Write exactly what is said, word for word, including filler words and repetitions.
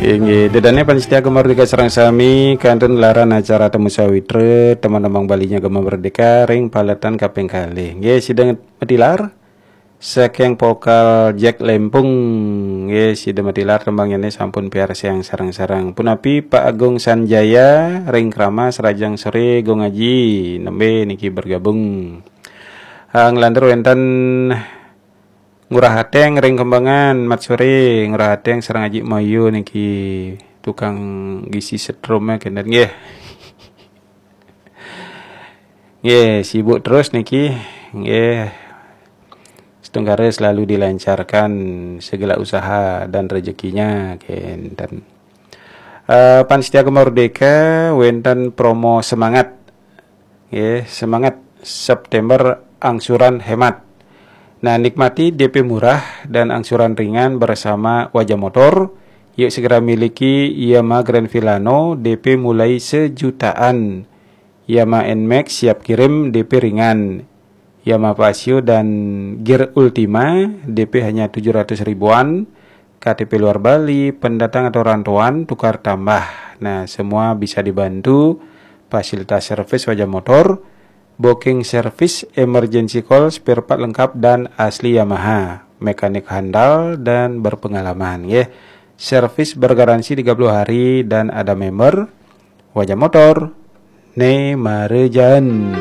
Inggih, dedane pamiarsa Gema Merdeka sareng sami, kantun laran acara Temu Sawitra, teman-teman Balinya Gema Merdeka ring paletan kaping kalih. Nggih, sida matilar saking Pokal Jack Lempung. Nggih, sida matilar tembangyane sampun piarsayang sareng-sareng. Punapi Pak Agung Sanjaya ring Kramas, rahajeng sore Gung Aji, nembe niki bergabung. Ah, nglantur wenten Ngurah Ateng ring Kembangan, mat sore Ngurah Ateng sareng Aji Mayu niki tukang gisi setrum ya kenten nggih. Nggih, sibuk terus niki. Nggih. Setunggara selalu dilancarkan segala usaha dan rezekinya kenten. Eh, pamiarsa Gema Merdeka, wenten promo semangat. Nggih, semangat September angsuran hemat. Nah, nikmati D P murah dan angsuran ringan bersama Wajah Motor. Yuk segera miliki Yamaha Grand Filano, D P mulai sejutaan. Yamaha Nmax siap kirim, D P ringan. Yamaha Fazzio dan Gear Ultima, D P hanya tujuh ratus ribuan. K T P luar Bali, pendatang atau rantauan, tukar tambah. Nah, semua bisa dibantu. Fasilitas servis Wajah Motor, booking service, emergency call, spare part lengkap dan asli Yamaha, mekanik handal dan berpengalaman, nggih. Servis bergaransi tiga puluh hari dan ada member. Wajah Motor, ne marejan.